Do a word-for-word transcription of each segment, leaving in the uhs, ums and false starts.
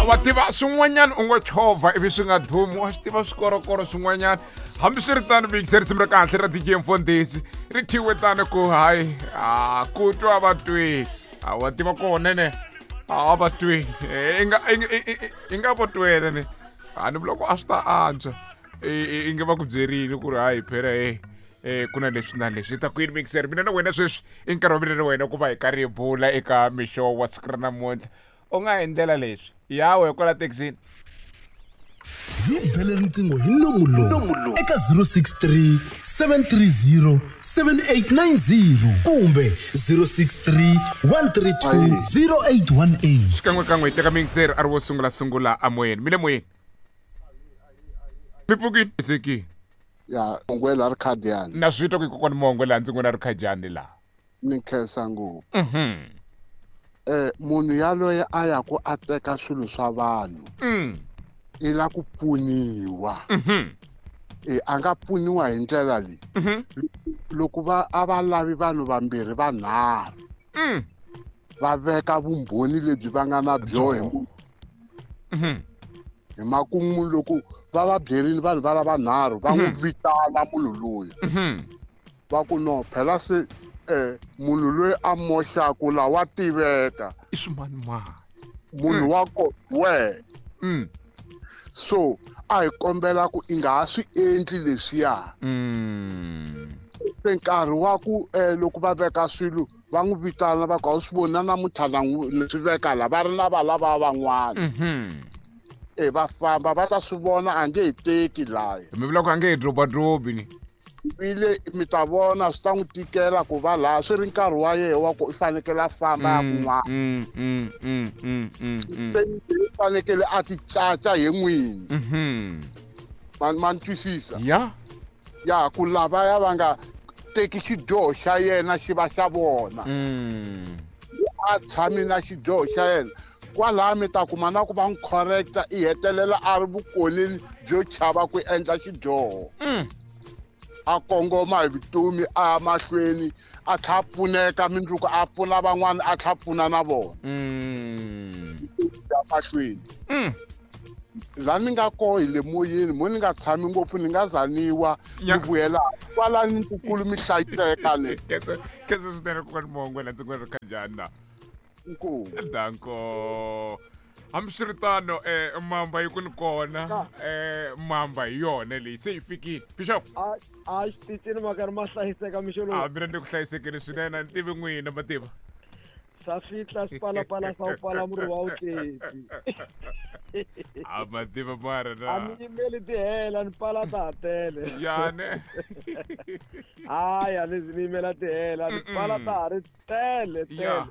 Wa tiva swin'wanyana u ngo chovha ivi swi nga dumi, wa swi tiva swikorokoro swin'wanyana. Hambiswiritano mixer risimu ra kahle ra D J Mfundhisi ri thyiwe tani ku hayi a ku twa va twi. A wa tiva kona ne a va twi i nga i nga vo twela ne a ni vula ku a swi ta antswa i nge va ku byerile ku ri hayi phela e eh ku na leswi na leswi ta kwini mixer mina na wena sweswi i nkarhi wa mina na wena ku va hi karhi hi bula eka mixo wa siku ra namuntlha. U nga endlela leswi yawe kwala taxini hi bele riqingho hi nomu lowu eka zero six three seven three zero seven eight nine zero kumbe zero six three one three two zero eight one eight. Xikan'wekan'we hi teka mixer a ri wo sungula sungula amoyeni mi le moyeni mi pfukini seki ya mongwela ri khadiyani na swi twa ku kokwana mongwela ndzi n'wina ri khadiyani laha ni khensa ngopfu. Mhm. Eh munhu yaloye a ya ku a teka swilo swa vanhu mm i la ku pfuniwa. Mhm. Eh a nga pfuniwa hi ndlela leyi. Mhm. Loko va a va lavi vanhu vambirhi vanharhu mm va veka vumbhoni lebyi va nga na byo hi mhm hi makumu loko va va byerile vanhu va lava nharhu va n'wi vitana munhu loyi mhm va ku no phela se eh munhu loyi a moxaku la wa tiveka i swimanimani munhu wa ko we mm so a hi kombela ku i nga ha swi endli leswiya. Mm se nkarhi wa ku eh loko va veka swilo va n'wi vitana va ku a wu swi voni na namuntlha na n'wi swi veka la va ri na valava van'wana. Mhm. E va famba va ta swi vona a nge he teki laya. Mi vula ku a nge he drobadrobi ni ile mi ta vona swi ta n'wi tikela ku va laha swi ri nkarhi wa yena wa ku i fanekele a famba ya kun'wana. Mm mm mm mm mm. Se i fanekele a ti caca hi n'wini. Mhm. Ma ma ni twisisa? Ya. Ya ku lavaya va nga teki xidyoho xa yena xi va xa vona. Mm. A tshami na xidyoho xa yena. Kwalaha mi ta kuma na ku va n'wi correcta i hetelela a ri vukoneni byo chava ku endla xidyoho. Mm. A kongoma hi vutomi a ya mahlweni a tlha pfuneka mindzuku a pfuna van'wana a tlha pfuna na vona. Mm. Ya mahlweni. Mm. La ni nga koho hi le moyeni mo ni nga tshami ngopfu ni nga zaniwa ni vuyela kwala ni ntukulu mi hlayiseka le. Khensa khensa swinene kokwana Mongwela ndzi n'wi ri khanjhani la. Inkomu. Danko. Hambiswiritano eh mamba yi ku ni kona eh mamba hi yona leyi se yi fikile. Bishop a a xitichini ma karhi ma hlayiseka mixo lowu. A mina ni ku hlayisekile swinene ni tivi n'wina mativa. Swa fihla swipalapala swa ku pala murhi wa wutleti. A mativa mara na. A mi yimeli ti hela ni pala ta ha tele. Ya ne. Hayi a ni zi ni yimela ti hela ni pala ta ha ri tele tele.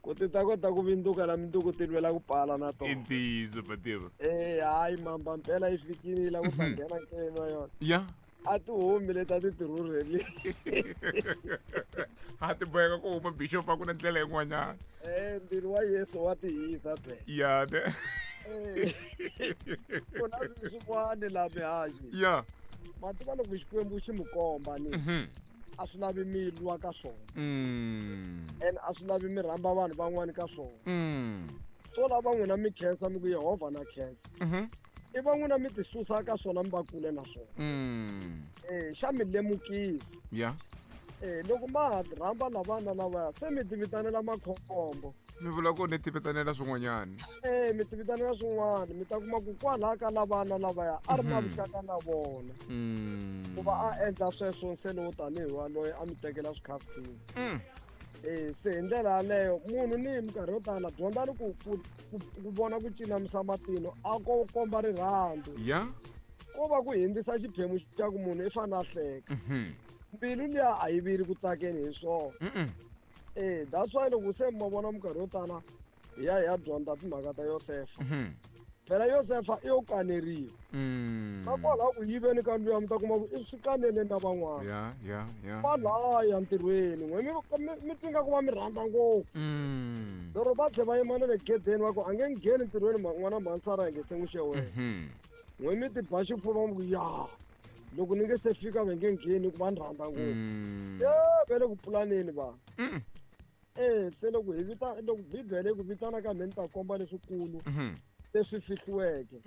Ku ti ta kota ku vinduka na minduku ti lwela ku pala na tona. I ntiyiso mativa. Eh hayi mamba mpela yi fikile la ku ta nghena nkeleni wa yona. Ya. A ti humi leti a ti ti rhurheli. A ti boheka ku huma bishop a ku na ndlela yin'wanyana. Eh mbilu wa Yesu wa ti hisa phela. Ya ne. Ku na swilo swin'wana laha mihaxi. Ya. Ma tiva loko Xikwembu xi mi komba ni. Mhm. A swi lavi mi lwa ka swona. Mm. And a swi lavi mi rhamba vanhu van'wani ka swona. Mm. Swo lava n'wina mi khensa mi ku Yehovha na khensa. Mhm. I va n'wina mi ti susa ka swona mi va kule na swona. Mm. Eh xa mi lemukisa. Ya. Eh loko ma ha rhamba lavana lavaya se mi ti vitanela makhombo. Mi vula ku ni ti vitanela swin'wanyana. Eh mi ti vitanela swin'wana mi ta kuma ku kwalaha ka lavana lavaya a ri na vuxaka na vona. Mm. Ku va a endla sweswo nse lowo tanihi waloye a mi tekela swikhafutini. Mm. Eh se hi ndlela yaleyo munhu ni hi minkarhi yo tala dyondzani ku ku ku vona ku cinamisa matino a ko komba rirhandzu. Ya. Ko va ku hindzisa xiphemu xa ku munhu i fanele a hleka. Mhm. Mbilu liya a yi vili ku tsakeni hi swona. Mhm. Eh that's why loko se ma vona minkarhi yo tala hi ya hi ya dyondza timhaka ta Yosefa. Mhm. Phela Yosefa i yo kaneriwa. Mm. Na kwalaho ku yiveni ka luya mi ta kuma ku i swi kaneleni na van'wana. Ya ya ya. Kwalaya ntirhweni n'we mi mi twi nga ku va mi rhandza ngopfu. Mm. Lero va tlhe va yima na le gedeni va ku a nge ngheni ntirhweni n'wana mhansara hi nge se n'wi xewela. Mhm. N'we mi ti ba xifuva mi ku ya loko ni nge se fika va nge ngheni ku va ni rhandza ngopfu. Mm. E va le ku pulaneni va. Mm. Eh se loko hi vita loko Bibele yi ku vitana ka mhe ni ta komba leswikulu. Mhm. Leswi fihliweke.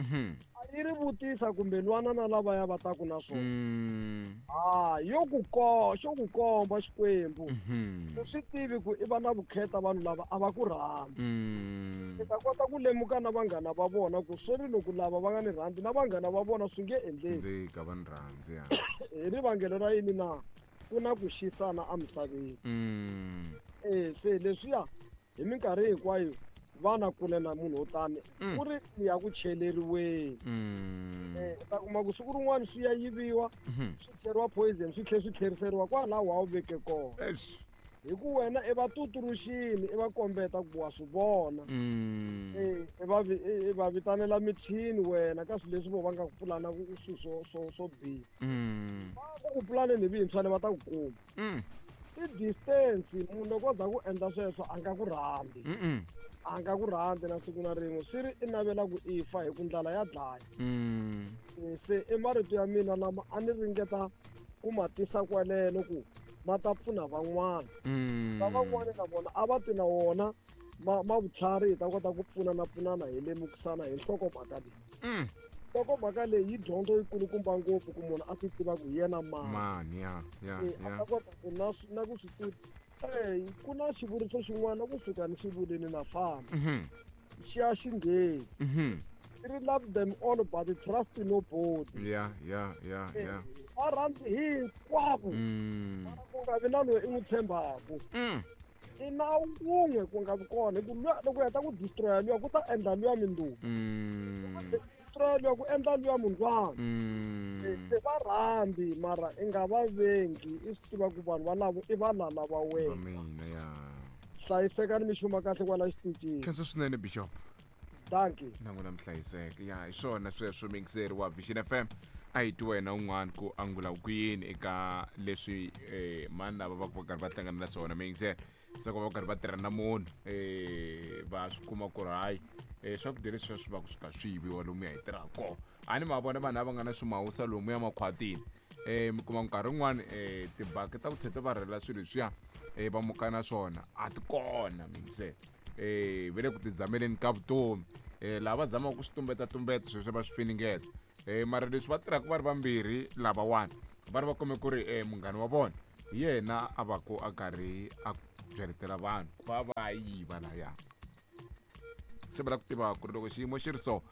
A yi ri vutisa kumbe lwana na lava ya va taku na swona. Ah, yo ku ko xo ku komba Xikwembu. U swi tivi ku i va na vukheta vanhu lava a va ku rhandzi. I ta kota ku lemuka na vanghana va vona ku swi ri loko lava va nga ni rhandzi na vanghana va vona swi nge endleki. Ndzi ka va ni rhandzi ya. Hi rivangelo ra yini na ku na ku xisana emisaveni. Eh se leswiya hi minkarhi hinkwayo vana kule na munhu wo tani ku ri ya ku cheleriweni. Eh ta kuma ku siku rin'wana swi ya yiviwa swi cheriwa poison swi tlhela swi tlheriseriwa kwalaho a wu veke kona. Hi ku wena i va tuturuxini i va kombeta ku wa swi vona. Eh i va i va vitanela michini wena ka swilo leswi vo va nga ku pulana ku swi swo swo swo biha. Va ku ku pulaneni hi vintshwa va ta ku kuma. I distance munhu loko a za ku endla sweswo a nga ku rhandzi. A nga ku rhandzi na siku na rin'we swi ri i navela ku i fa hi ku ndlala ya dlaya. Se i marito ya mina lama a ni ringeta ku ma tisa kwaleno ku ma ta pfuna van'wana. Va van'wana na vona a va ti na wona ma ma vutlhari hi ta kota ku pfunana pfunana hi lemukisana hi nhlokomhaka leyi. Nhlokomhaka leyi yi dyondzo yi kulukumba ngopfu ku munhu a ti tiva ku hi yena mani. Mani ya ya A ta kota ku na na ku swi tiva. Eh ku na xivuriso xin'wana kusuka ni xivulini na famba. Xi ya xinghezi. Ri love them all but trust nobody. Yeah yeah yeah yeah. Va rhandzi hinkwavo. Mara ku nga vi na loyi i n'wi tshembaku. I na wun'we ku nga vi kona hi ku luya loko u heta ku destroya luya ku ta endla luya mindzuku. Destroya luya ku endla luya mundlwana. Se va rhandzi mara i nga va vengi i swi tiva ku vanhu valavo i valala va wena. Mina ya. Hlayisekani mi xuma kahle kwala xitichini. Khensa swinene Bishop. Dankie. Na n'wina mi hlayiseka. Ya hi swona sweswo mixeri wa Vision F M. A hi twi wena un'wana ku angula ku yini eka leswi eh mani lava va ku va karhi va hlangana na swona mixeri. Se ku va karhi va tirha na munhu eh va swi kuma ku ri hayi eh swakudya leswi swi va ku swi ka swi yiviwa lomu ya hi tirhaka kona. A ni ma vona vanhu lava nga na swimawusa lomu ya makhwatini. Eh mi kuma nkarhi wun'wani eh tibaki ta ku tlhela va rhela swilo leswiya eh va muka na swona a ti kona mixeri. Eh ve le ku tizameleni ka vutomi. Eh lava zamaka ku swi tumbeta tumbeta sweswo va swi finingeta. Eh mara leswi va tirhaka va ri vambirhi lavawani va ri va kume ku ri eh munghana wa vona hi yena a va ku a karhi a byeletela vanhu va va yiva laya. Se va lava ku tiva ku ri loko xiyimo xi ri so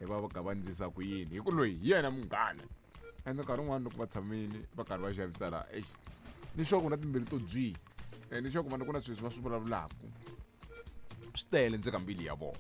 hi va va ka va endlisa ku yini hi ku loyi hi yena munghana. Ende nkarhi wun'wani loko va tshamile va karhi va xavisa laha eish ni sure ku na timbilu to byi ni sure ku vanhu ku na swilo leswi va swi vulavulaka swi tele ndzeni ka mbilu ya vona.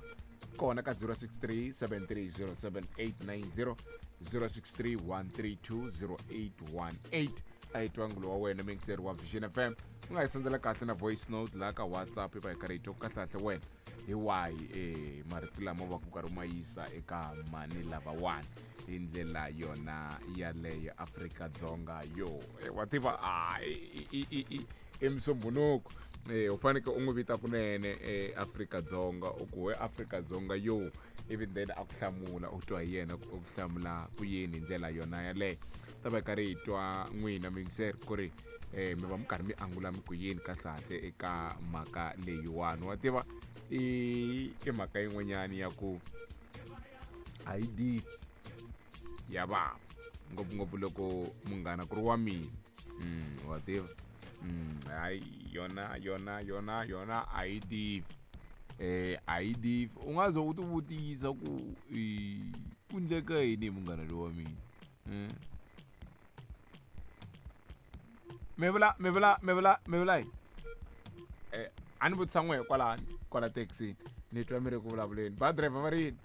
Kona ka zero six three seven three zero seven eight nine zero, zero six three one three two zero eight one eight. A hi twa angulo wa wena mixeri wa Vision F M. U nga hi sendela kahle na voice note laha ka WhatsApp va hi karhi hi twa kahle wena hi wahi eh marito lama va ku karhi u ma yisa eka mani lavawani hi ndlela yona yaleyo Afrika-Dzonga yo. Wa tiva a i i i Musumbhunuko eh u fanekele u n'wi vita kunene eh Afrika-Dzonga u ku we Afrika-Dzonga yo ivi then a ku hlamula u twa hi yena ku hlamula ku yini hi ndlela yona yaleyo. Ta va karhi hi twa n'wina mixer ku ri eh mi va mi karhi mi angula mi ku yini kahle eka mhaka leyiwani. Wa tiva i i mhaka yin'wanyani ya ku I D ya va ngopfungopfu loko munghana ku ri wa mina. Mm wa tiva mm hayi yona yona yona yona I D eh I D u nga ze u ti vutisa ku ku endleka yini hi munghana lowa mina. Mm mi vula mi vula mi vula mi vula yini eh a ni vutisa n'we kwalani kwala taxi ni twa mi ri ku vulavuleni ba driver va ri yini.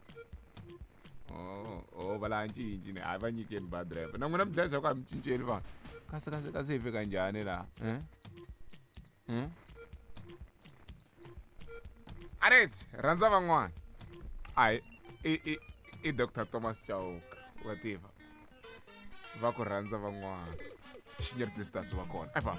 Oh oh va la cinci ni a va nyikeni ba driver na n'wina mi dlaya ku a mi cinceli vanhu kasi kasi kasi hi fika njhani laha eh eh Ares rhandza van'wana ai i i i Doctor Thomas Chauke wa tiva va ku rhandza van'wana Senior Sisters va kona. Efa.